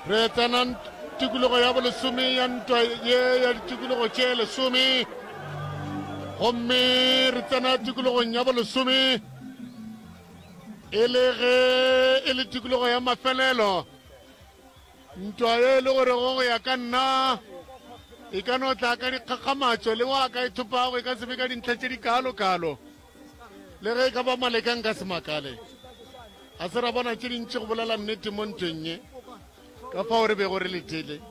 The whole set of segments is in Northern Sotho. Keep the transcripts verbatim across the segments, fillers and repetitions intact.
Re tsena tikologo ya bolesome ya ntwa ye ya ditikologo tše lesome, gomme re tsena tikologong ya bolesome e le ge e le tikologo ya mafelelo. Ntwa ye e le gore go ya ka nna e ka no tla ka dikgakgamatšo, le wa ka e thopago e ka se be ka dintlha tše di kalo-kalo, le ge e ka ba maleka nka se makale. Ga se ra bona tše dintši go bolela nnete mo ntweng ye, ka fao re bego re letele.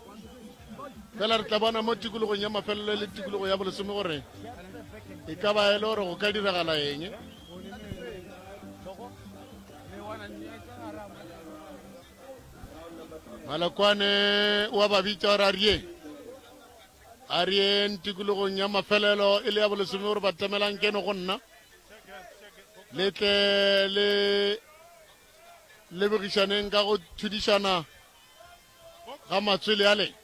Fela re tla bona mo tikologong ya mafelelo le tikologo ya bolesome gore e ka ba e le gore go ka diragala eng. Malokwane wa ba bitša gore a rieng, a rieng tikologong ya mafelelo e le ya bolesome gore ba temelang keno go nna, le tle le lebogišaneng ka go thudišana ga matswele ale.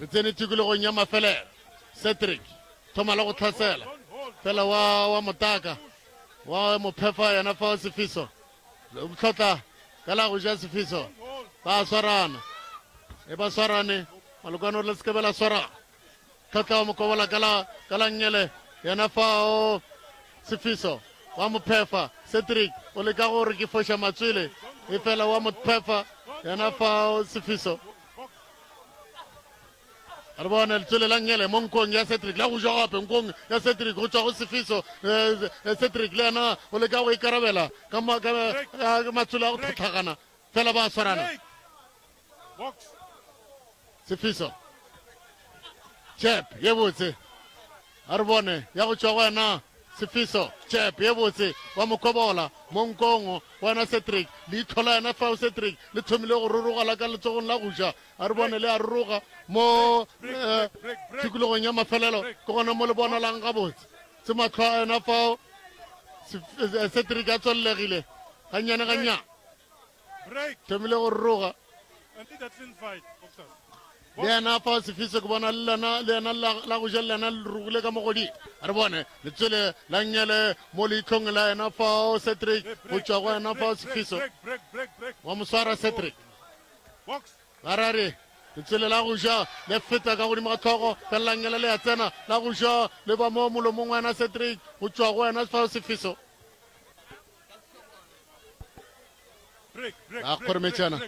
Re tsene tikologong ya mafelelo. Cedric thoma le go tlhasela fela wa wa motaka wa mophefa yena fa Sefiso tlhotla ka la go ja Sefiso. Ba swarana e ba swarane, Malokwane o re le se ke be la swarana. Tlhotla wa mokobola ka la ka la nngele yena fao Sefiso wa mophefa. Cedric o leka gore ke foša matswele e fela wa mophefa yena fao Sefiso. Re bone letswele la nngele mo nkong ya Cedric, la go ja gape nkong ya Cedric go tšwa go Sefiso. Cedric le yena o leka go ikarabela ka matswele a go tlhotlhagana, fela ba swarana. Sefiso jab ye botse, a re bone ya go tšwa go wena Sefiso. Jab ye botse wa mokobola mo nkong wena Cedric. Leihlo la yena fao Cedric le thomile go rurugala ka letsogong la go ja. A re bone le a ruruga mo tikologong ya mafelelo, ke gona mo le bonalang gabotse. Se mahlo a yena fao Cedric a tswelelegile gannyane gannyane, thomile go ruruga. Le yena fa Sefiso ke bona le lena le yena la go ja le lena le rugile ka mogodimo. A re bone letswele la nngele mo leitlhong la yena fao Cedric go tšwa go yena fao Sefiso wa moswara Cedric. Ba ra re letswele la go ja le feta ka godimo ga tlhogo, fela la nngele le ya tsena, la go ja le ba mo molomong wa yena Cedric go tšwa go yena fao Sefiso. Ba kgorometšana.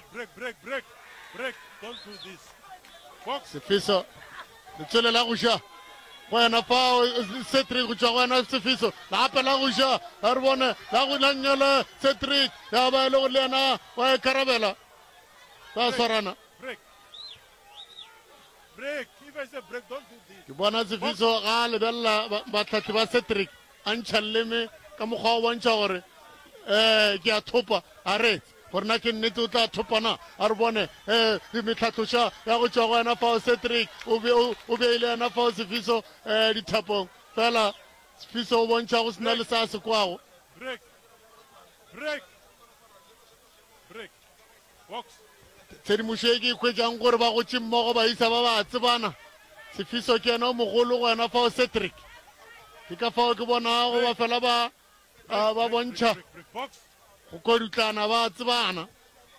Sefiso letswele la go ja go yena fao Cedric go tšwa go yena Sefiso, gape la go ja a re bone la go la nngele Cedric ya ba e le gore le yena wa ikarabela. Ba swarana. Ke bona Sefiso ga a lebelela batlhahli ba Cedric a ntšha leleme ka mokgwa wa bontšha gore um ke a thopa. A re gore na ke nnete o tla thopa na? A re bone um metlhatloša ya go tšwa go yena fao Cedric o beile yena fao Sefiso um dithapong, fela Sefiso o bontšha go sena le sa se kwago. Tshedimošo e ke e hwetšang gore ba gotše mmogo baisa ba ba tsebana. Sefiso ke yena o mogolo go yena fao Cedric. Ke ka fao ke bonago ba fela ba ba bontšha go kodutlana ba tsebana.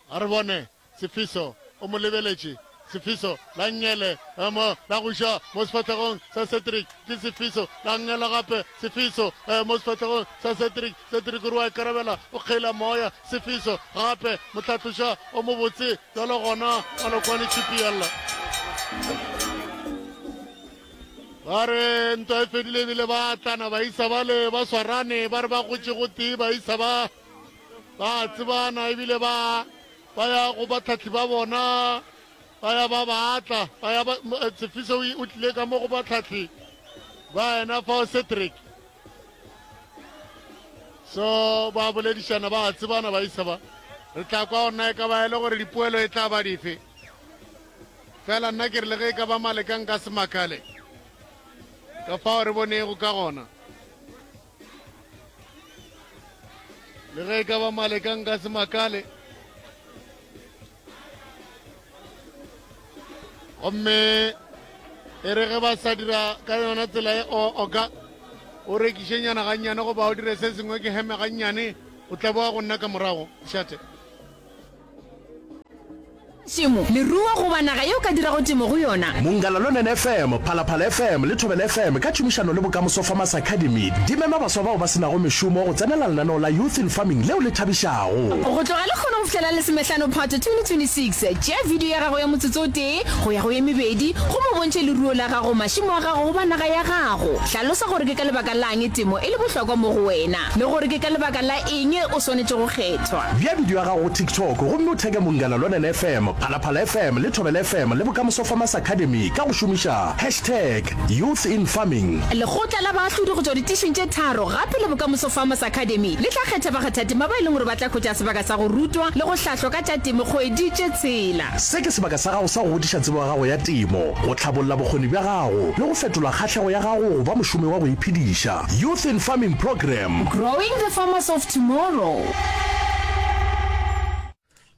A re bone Sefiso o mo lebeletše. Sefiso la nngele mo la go ja mo sefahlegong sa Cedric. Ke Sefiso la nngele gape. Sefiso mo sefahlegong sa Cedric. Cedric o re wa ikarabela, o kgeila moya. Sefiso gape motlhatloša o mobotse bjalo gona Malokwane Chipiella. Ba re ntwa e fedile ebile ba atlana baisa bale ba swarane, ba re ba gotše gotee baisa ba ba tsebana ebile ba ba ya go batlhahli ba bona, ba ya ba ba atla, ba ya ba Sefiso o tlile ka mo go batlhahli ba yena fao Cedric. So ba boledišana ba tsebana baisa ba. Re tla kwa gore na e ka ba e le gore dipoelo e tla ba dife. Fela nna ke re le ge e ka ba maleka nka se makale ka fao re bonego ka gona. Le ge e ka ba maleka nka se makale. Gomme e re ge ba sa dira ka yona tsela e oka o rekišenyana gannyane goba o dire se sengwe ke heme gannyane, o tla boa go nna ka morago. Šate. Tšhemo, leruo goba naga ye o ka dirago temo go yona. Mongala Lonene F M, Phalaphala F M le Thobela F M ka tšhomišano le Bokamoso Farmers Academy di mema baswa bao ba se nago mešomo go tsenela lenaneo la Youth in Farming leo le thabišago. Go tloga lehono go fihla la lesomehlano Phato twenty twenty-six, tšea video ya gago ya motsotso o tee go ya go ye mebedi gomme o bontšhe leruo la gago, mašemo a gago goba naga ya gago. Hlalosa gore ke ka lebaka la'ng temo e le bohlokwa mo go wena le gore ke ka lebaka la eng o swanetše go kgethwa. Bea video ya gago go TikTok gomme o theke Mongala Lonene F M, Phalaphala F M le Thobela F M le Bokamoso Farmers Academy ka go šomiša hashtag Youth in Farming. Lekgotla la baahlodi go tšwa ditišing tše tharo gape le Bokamoso Farmers Academy le tla kgetha bakgathatema ba e leng gore ba tla hwetša sebaka sa go rutwa le go hlahlwa ka tša temo kgwedi tše tshela. Se ke sebaka sa gago sa go godiša tsebo ya gago ya temo, go hlabolla bokgoni bja gago le go fetola kgahlego ya gago go ba mošomi wa go iphediša. Youth in Farming Programme. Growing the farmers of tomorrow.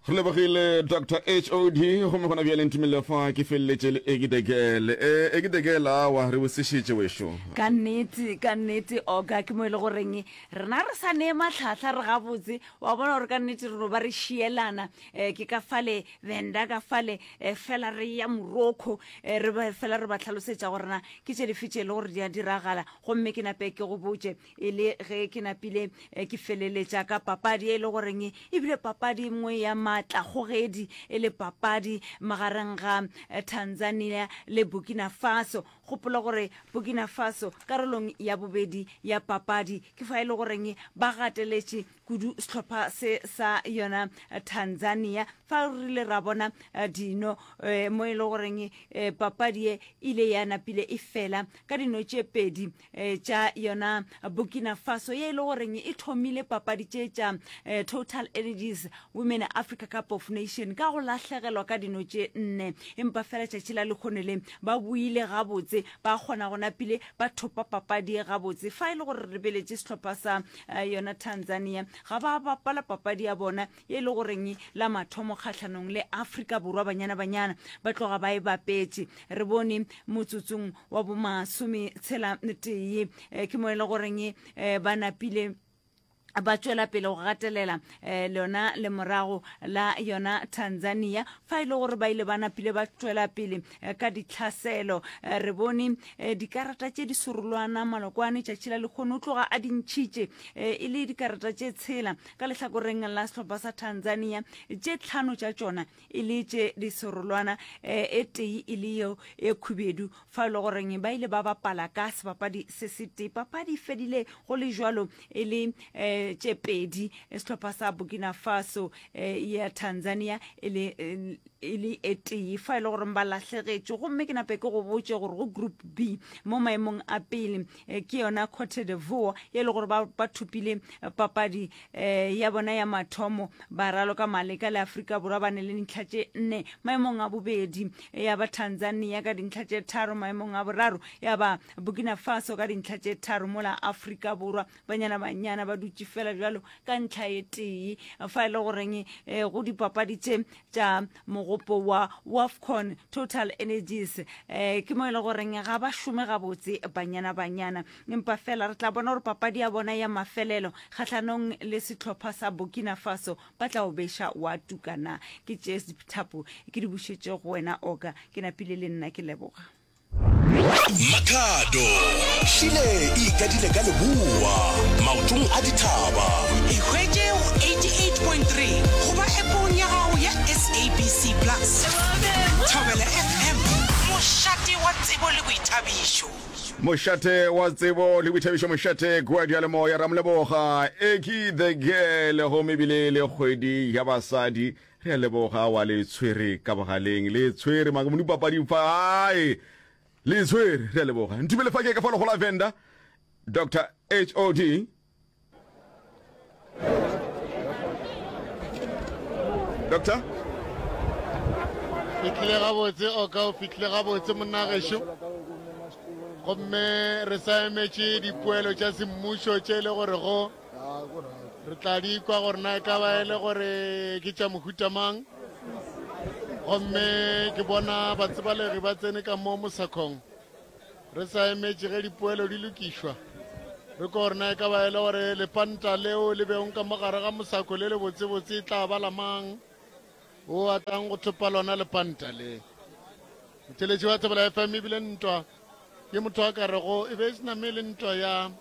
Re lebogile Doctor H O D. Gomme gona bjale ntumelele fa ke feleletše le Egidegele. E, Egidegele, awa re bosešitše wešo. Ka nnete, ka nnete, oka ke mo e le goreng rena re sa nee matlhatlha re gabotse. Wa bona gore ka nnete re no ba re šielana um ke ka fale Venda, ka fale um fela re ya Morocco, um re ba fela re ba tlhalosetša gore na ke tše dife tše e le gore di a diragala. Gomme ke nape ke go botše e le ge ke napile eh, ke feleletša ka papadi e le goreng ebile papadi nngwe ya maatlakgogedi, e le papadi magareng ga eh, Tanzania le Burkina Faso. Gopola gore Burkina Faso karolong ya bobedi ya papadi ke fa e le goreng ba gateletše kudu sehlopha se sa yona eh, Tanzania. Fa re rile ra bona eh, dino eh, mo e le goreng eh, papadi e ile ya napile e fela ka dino tše pedi eh, tša yona Burkina Faso ye e le goreng e thomile papadi tše tša eh, Total Energies Women Africa Cup of Nation ka go lahlegelwa ka dino tše nne, empa fela tšatši la lekgone le ba buile gabotse, ba kgona go napile ba thopa papadi e gabotse. Fa e le gore re lebeletše sehlopha sa eh, yona Tanzania, ga ba bapala papadi ya bona ye e le goreng la mathomo kgahlanong le Afrika Borwa, Banyana Banyana ba tloga ba e bapetše. Re bone motsotsong wa bomasome tshela tee eh, ke mo e le goreng eh, ba napile ba tšwela pele go gatelela um lona le morago la yona Tanzania. Fa e le gore ba ile ba napile ba tšwela pele eh, ka ditlhaselo, eh, re bone eh, dikarata tše di sorolwana malokwane tšatši la lekgono o tloga a dintšhitše eh, e le dikarata tše tshela ka lehlakoreng la sehlopha sa Tanzania, tše tlhano tša tšona e le tše di serolwana, eh, e tee e le yeo e khubedu. Fa e le goreng ba ile ba bapala ka sebapadi se se tee, papadi e fedile go le jwalo e le eh, tše pedi sehlopha sa Burkina Faso, eh, ya Tanzania e le eh, e le e tee, fa e le gore ba lahlegetše. Gomme ke nape ke go botše gore go group B mo maemong a pele eh, ke yona Cote d'Ivoire ye e le gore ba, ba thopile eh, papadi eh, ya bona ya mathomo, ba raloka maleka le Afrika Borwa, ba ne le dintlha tše nne. Maemong a bobedi eh, ya ba Tanzania ka dintlha tše tharo, maemong a boraro ya ba Burkina Faso ka dintlha tše tharo, mola Afrika Borwa, Banyana Banyana, ba dutše fela bjalo ka ntlha e tee. Fa e le goreng eh, go dipapadi tše tša mogopo wa WAFCON Total Energies eh, ke mo e le goreng ga ba šome gabotse Banyana Banyana, empa fela re tla bona gore papadi ya bona ya mafelelo kgahlanong le sehlopha sa Burkina Faso ba tla o beša wa tukana. Ke tše dithapo ke di bušetše go wena oka, ke napile le nna ke leboga. Makhado šile e ikadile ka leboa maotong a dithaba. E hwetše go eighty-eight point three goba epong ya gago ya S A B C Plus. Thobela F M, mošate wa tsebo le boithabišo. Mošate wa tsebo le boithabišo, mošate kua diyalemoya. Ramoleboga Eki the Girl, gomme ebile le kgwedi ya basadi. Re a leboga wa le tshwere ka bogaleng, le tshwere maka papading fa ae le tshwere. Re a leboga. Ntumele fa ke ka fa legola Venda, Doctor H O D. Doctor Fitlhile gabotse oka, o fitlhile gabotse monna gešo. Gomme re sa emetše dipoelo tša semmušo tše e le gore go re tla di kwa gore na e ka ba e le gore ke tša mohuta mang. Gomme ke bona batsebalegi ba tsene ka mo mosakong, re sa emetše ge dipoelo di lokišwa, re ko gore na e ka ba e le gore lepanta leo le beong ka mogare ga mosako le le botsebotse e tla ba la mang. O a tlang go thopa lona lepanta le. Motheletši wa Thobela F M ebile ntwa ye motho a ka rego e be e se name le ntwa ya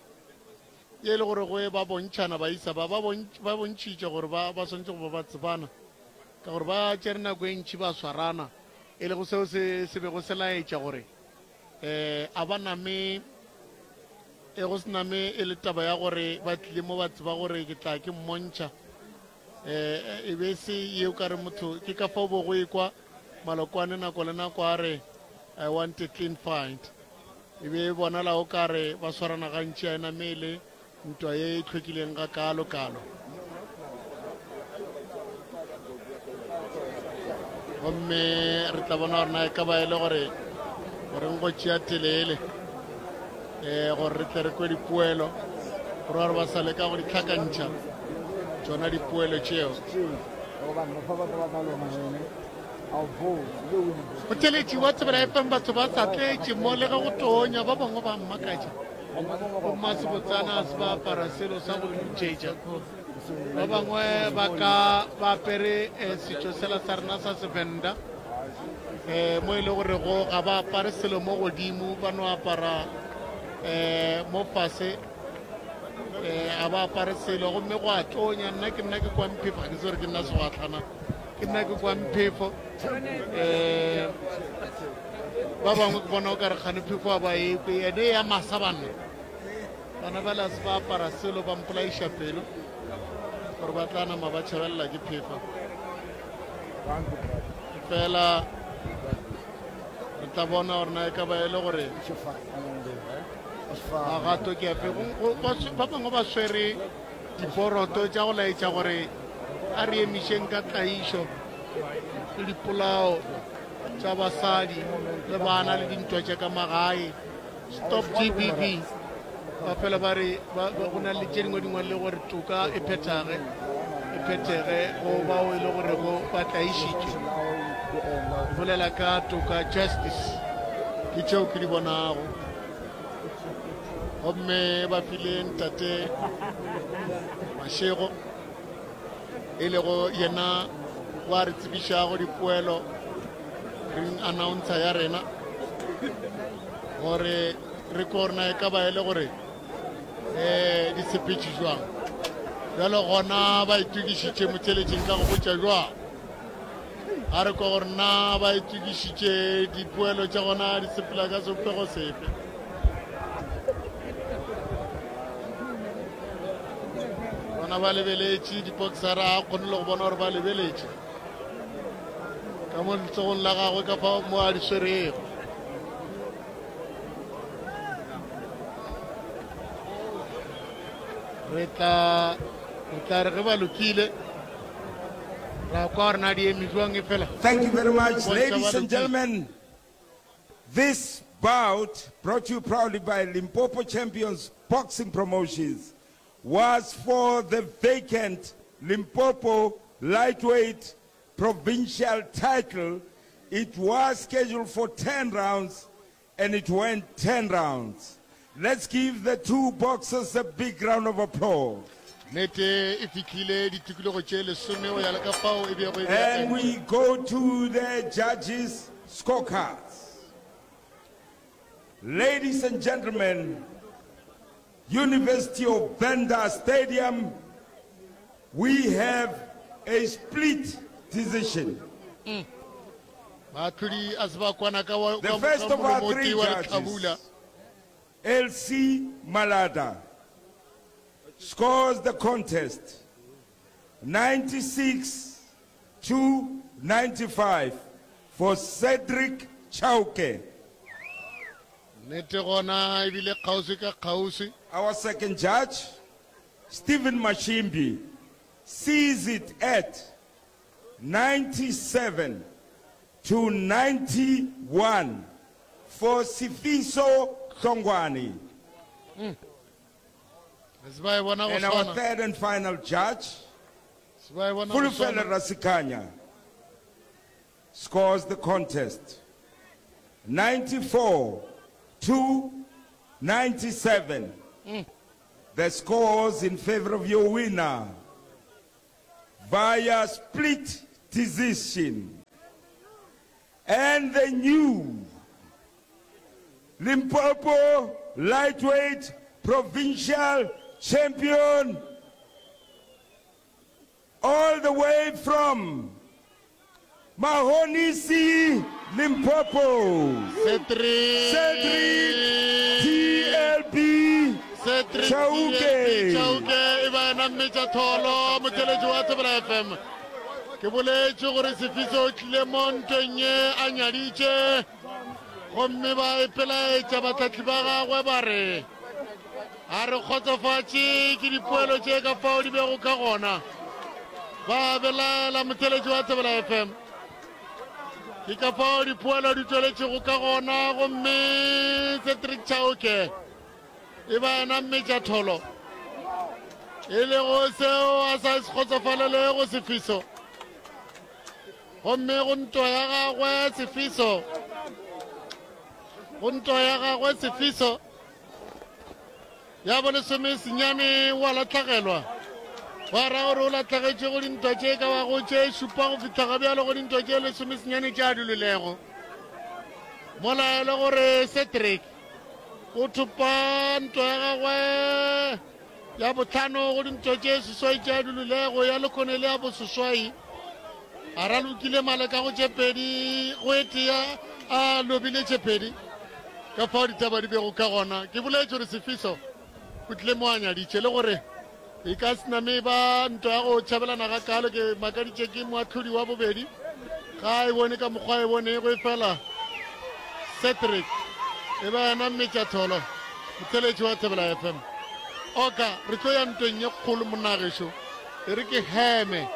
ye e le gore go e ba bontšhana baisa ba ba ba bontšhitše gore ba ba swanetše go ba ba tsebana ka gore ba tšere nako e ntši ba swarana e lego seo se se bego se laetša gore um a ba name e go se name e le taba ya gore ba tlile mo ba tseba gore ke tla ke mmontšha um e be se ye o ka re motho ke ka fao bo go ekwa malokwane nako le nako a re I want a clean fight e be e bonala o ka re ba swarana gantši a e name e le ntwa ye e hlwekileng ga kalo kalo gomme re tla bona gore na e ka ba e le gore goreng go tšea telele um gore re tle re kwe dipoelo gore gore ba sa leka go di tlhakantšha tšona dipoelo tšeo Motheletši wa Thobela F M batho ba sa tletše mo le ge go tonya ba bangwe ba mmakatša bomma sebotsana a se ba apara selo sa go dutšetša ba bangwe ba ka ba apere eh, setšo sela sa rena sa Sevenda um mo e le gorego ga ba apare selo mo godimo ba no apara um mo fase um ga ba apare selo gomme go a tonya nna ke nna ke kwa mphefo ga ke se gore ke nna segwatlhana ke nna ke kwa mphefo um ba bangwe ke bona o ka re kgane phefo a ba ekwe ene ya masa banna bana ba le se ba apara selo ba mpolaiša pelo gore ba tla nama ba tšhabelela ke phefo fela re tla bona gore na e ka ba e le gore magato ke afe ba bangwe ba swere diboroto tša go laetša gore a re emišeng ka tlaišo le dipolao tša basadi le bana le dintwa tša ka magae stop G B V ba fela ba re go na le tše dingwe dingwe le gore toka e phethage e phethege go bao e le gore go ba tlaišitše bolela ka toka justice ke tšeo ke di bonago gomme ba file ntate Mashego e lego yena wa re tsebišago dipoelo ring announcer ya rena gore re ko rena e ka ba e le gore um di sepetše jwang bjalo gona ba itokišitše motheletšeng ka go botša jwang a re ko gore na ba itokišitše dipoelo tša gona di sepela ka sebopego sefe bona ba lebeletše diboxera a kgone le go bona gore ba lebeletše ka mo letsogong la gagwe ka fa mo a di swerego re tla re tla re ge ba lokile ra kwa gore na di eme jwang e fela. Thank you very much, ladies and gentlemen. This bout, brought to you proudly by Limpopo Champions Boxing Promotions, was for the vacant Limpopo lightweight provincial title. It was scheduled for ten rounds and it went ten rounds. Let's give the two boxers a big round of applause. Nete e fihlile ditikologo tše lesome go ya le ka fao e bego e And we go to the judges' scorecards. Ladies and gentlemen, University of Venda Stadium, we have a split decision. Mm. Baahlodi a se ba kwana ka wa, The ka, first ka of our molomo o three tee wa judges, lehlabula. L C Malada, scores the contest ninety-six to ninety-five for Cedric Chauke. Nnete gona ebile kgauswi ka kgauswi. Our second judge, Stephen Mashimbi, sees it at ninety-seven to ninety-one for Sifiso Hlongwane. Mm. Se ba e bona go And our swana. third and final judge, Se ba e bona go Fulufele swana. Rasikanya, scores the contest ninety-four to ninety-seven. Mm. The scores in favor of your winner via split decision. And the new Limpopo lightweight provincial champion all the way from Mahonisi, Limpopo. Cedric Cedric TLB Cedric Chauke. TLB Chauke e ba yena mmetša tholo motheletši wa Thobela FM. Ke boletše gore Sefiso o tlile mo ntweng ye a nyaditše gomme ba ipelaetša batlhahli ba gagwe ba re a re kgotsofatše ke dipoelo tše ka fao di bego ka gona. Ba belaela motheletši wa Thobela FM. Ke ka fao dipoelo di tšweletšego ka gona gomme Cedric Chauke e ba yena mmetša tholo e lego seo a sa se kgotsofalelego Sefiso. Gomme go ntwa ya gagwe Sefiso, go ntwa ya gagwe Sefiso ya bolesome senyane wa lahlagelwa. Wa ra gore o lahlagetše go dintwa tše ka bago tše šupa go fihla ga bjalo go dintwa tše lesome senyane tše a di lwelego. Mola e le gore Cedric o thopa ntwa ya gagwe ya bohlano go dintwa tše seswai tše a di lwelego ya lekgone le ya boseswai. A ralokile maleka go tše pedi go e tee a lobile tše pedi. Ka fao ditaba di bego ka gona. Ke boletše gore Sefiso o tlile mo a nyaditše le gore e ka se name ba ntwa ya go tšhabelana ga kalo. Ke makaditše ke moahlodi wa bobedi ga e bone ka mokgwa e bonego e fela Cedric e ba yena mmetšatholo motheletši wa Thobela F M. Oka re tlo ya ntweng ye kgolo monna gešo, e re ke heme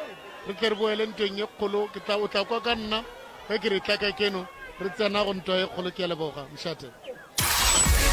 re tle re boele ntweng ye kgolo. Ke tla o tla kwa ka nna ge ke re tla ka keno re tsena go ntwa ye kgolo. Ke a leboga mošate.